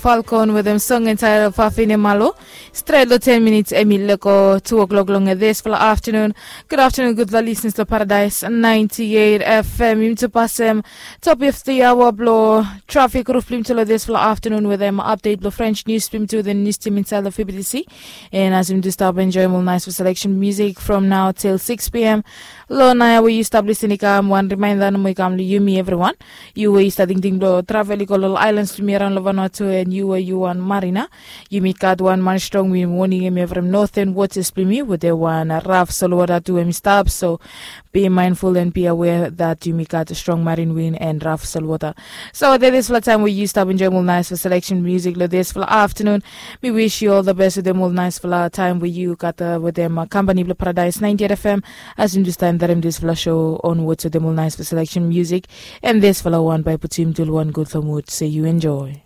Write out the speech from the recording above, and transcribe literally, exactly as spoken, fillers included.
Falcon wetem song entitled Fafine Malo. Stret long ten minits em i leko two o'clock long disfala afternoon. Good afternoon, gudfala listeners long Paradise ninety-eight F M. Yumi tu pasem top of the hour blong traffic roof blong yumi tu long disfala afternoon wetem update blong French news blong yumi tu the news team inside long F B T C. And as yumi tu stap enjoyim ol nice selection music from now till six p.m. Long naoia we yu stap listening i kam wan reminder nomo i kam long yumi everyone. Yu we yu stap tingting blong travel i go long ol islands blong yumi around long Vanuatu and yu we yu wan marina. Yumi gat wan man strong wind warning em from northern waters blong yumi wetem wan raf solwota tu em i stap, so be mindful and be aware that yumi gat strong marine wind and raf solwota. So that is fala time we yu stap enjoyim ol nice fala selection music long disfala afternoon. Mi wish yu all the best wetem ol nice fala time we yu gat wetem company blong Paradise ninety-eight F M. As yumi tu stap enjoyim disfala show onwards wetem ol nice fala selection music. And disfala wan bai putum yumi tu long wan gudfala mood, so yu enjoy.